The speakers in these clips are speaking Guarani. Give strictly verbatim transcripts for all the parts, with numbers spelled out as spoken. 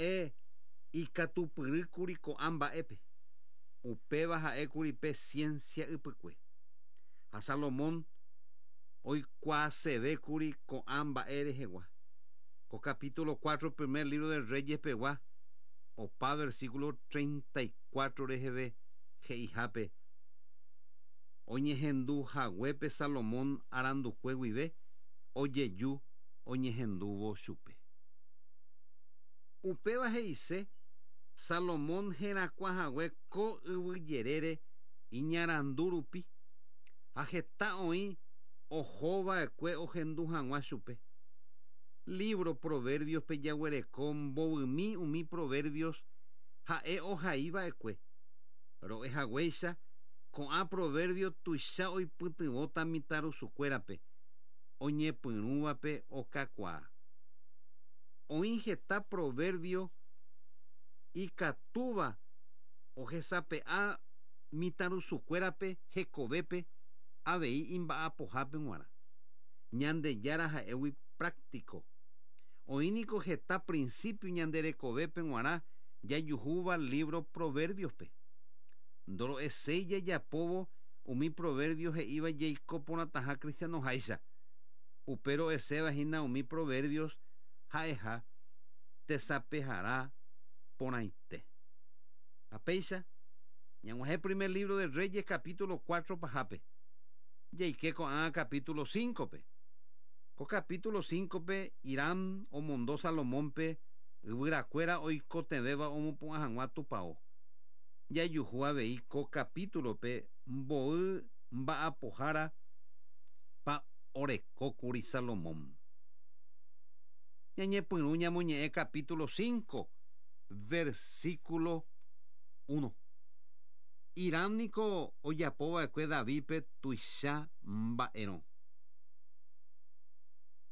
Ha'e ikatupyrýkuri ko'ã mba'épe. Upéva ha'ékuri pe ciencia ypykue. Ha Salomón oikuaasevékuri ko'ã mba'e rehegua. Ko capítulo cuatro primer libro de Reyes pegua opa versículo treinta y cuatro reheve he'ihápe oñehendu haguépe Salomón arandukue guive ojeju oñehendúvo chupe. Upéva he'ise Salomón herakuãhague ko yvyjerére iñarandu rupi ha heta oĩ ohova'ekue ohendu hag̃ua chupe. Libro Proverbios pe jaguereko mbovymi umi proverbios ha'e ohaiva'ekue. Ro'ehaguéicha ko'ã proverbio tuicha oipytyvõta mitãrusukuérape oñepyrũvape okakuaa. Oĩ heta proverbio ikatúva ohesape'a mitãrusukuérape hekovépe avei imba'apohápe g̃uarã. Ñandejára ha'égui práctico. Oĩ niko heta principio ñanderekovépe g̃uarã jajuhúva libro Proverbios-pe. Ndoro'eséi jajapóvo umi proverbio he'íva jaiko porãtaha cristianoháicha. Upe ro'eséva hína umi proverbios ha'eha tesapehara porãite. Ha péicha ñag̃uahẽ primer libro de Reyes capítulo cuatro pahápe. Jaike ko'ã capítulo cinco-pe. Ko capítulo cinco-pe Hiram omondo Salomónpe yvyrakuéra oikotevẽva omopu'ã hag̃ua tupão. Jajuhu avei ko capítulo-pe mboy mba'apohára pa orekókuri Salomón. Ñañepyrũ ñamoñe'ẽ capítulo cinco, versículo uno. Hiram niko ojapova'ekue Davídpe tuicha mba'erõ.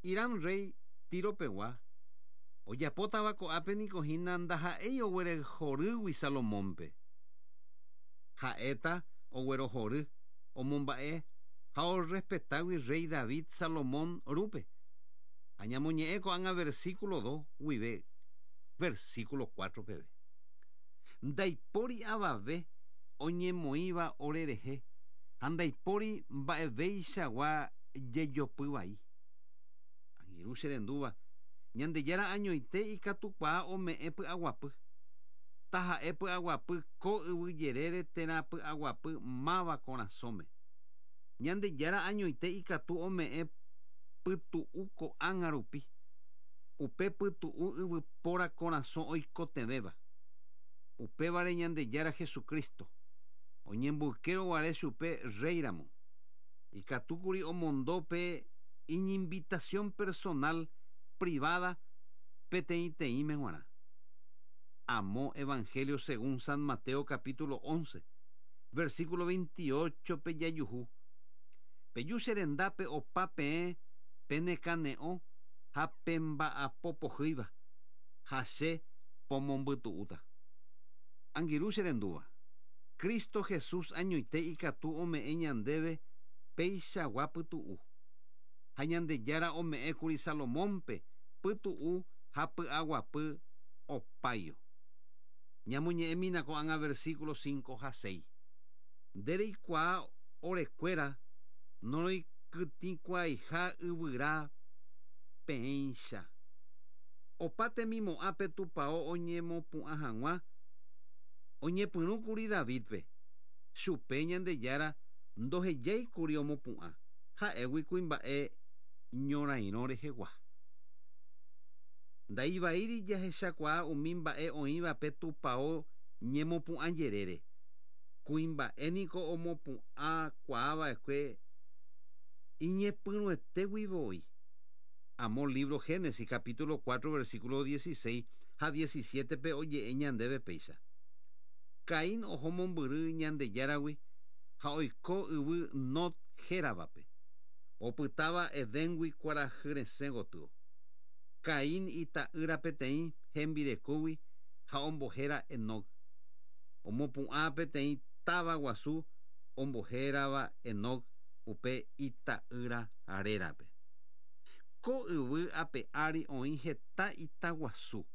Hiram rey Tiro pegua ojapótava ko'ápe niko hína ndaha'éi oguerohorýgui Salomónpe. Ha'éta oguerohory omomba'e ha orespetágui rey David Salomón rúpe. Ha ñamoñe'ẽ ko'ág̃a versículo dos guive versículo cuatro peve. Ndaipóri avave oñemoĩva orerehe ha ndaipóri mba'eveichagua jejopy vai. Angirũ che rendúva Ñandejára añoite ikatukuaa ome'ẽ py'aguapy. Taha'e py'aguapy ko yvyjerére térã py'aguapy máva korasõme. Ñandejára añoite ikatu ome'ẽ pytu'u ko'ág̃a rupi. Upe pytu'u yvypóra korasõ oikotevẽva. Upévare Ñandejára Jesucristo oñemboykérõ chupe rey ramo. Ikatúkuri omondo pe iñinvitación personal privada peteĩteĩme g̃uarã. Amo Evangelio según San Mateo capítulo once, versículo veintiocho pe jajuhu. Peju che rendápe opa peẽ penekane'õ ha pemba'apopohýiva ha che pomombytu'úta. Angirũ che rendúva. Cristo Jesús añoite ikatu ome'ẽ ñandéve peichagua pytu'u. Ha Ñandejára ome'ẽkuri Salomónpe pytu'u ha py'aguapy opáio. Ñamoñe'ẽmína ko'ág̃a versículo cinco ha seis. Ndereikuaa orekuéra noroikytĩkuaaiha yvyra peẽicha. Opa temimo'ã pe tupão oñemopu'ã hag̃ua oñepyrũkuri Davídpe. Chupe Ñandejára ndohejáikuri omopu'ã ha'égui kuimba'e ñorairõ rehegua. Ndaivaíri jahechakuaa umi mba'e oĩva pe tupão ñemopu'ã jerére. Kuimba'e niko omopu'ãkuaava'ekue iñepyrũetégui voi. Amo libro Génesis capítulo cuatro versículo dieciséis ha diecisiete pe oje'e ñandéve péicha. Caín oho mombyry Ñandejáragui ha oiko yvy Nod héravape. Opytáva Edéngui kuarahy resẽ gotyo. Caín ita'ýra peteĩ hembirekógui ha ombohéra Enoc. Omopu'ã peteĩ táva guasu ombohérava Enoc upe ita'ýra rérape. Ko yvy ape ári oĩ heta itaguasu.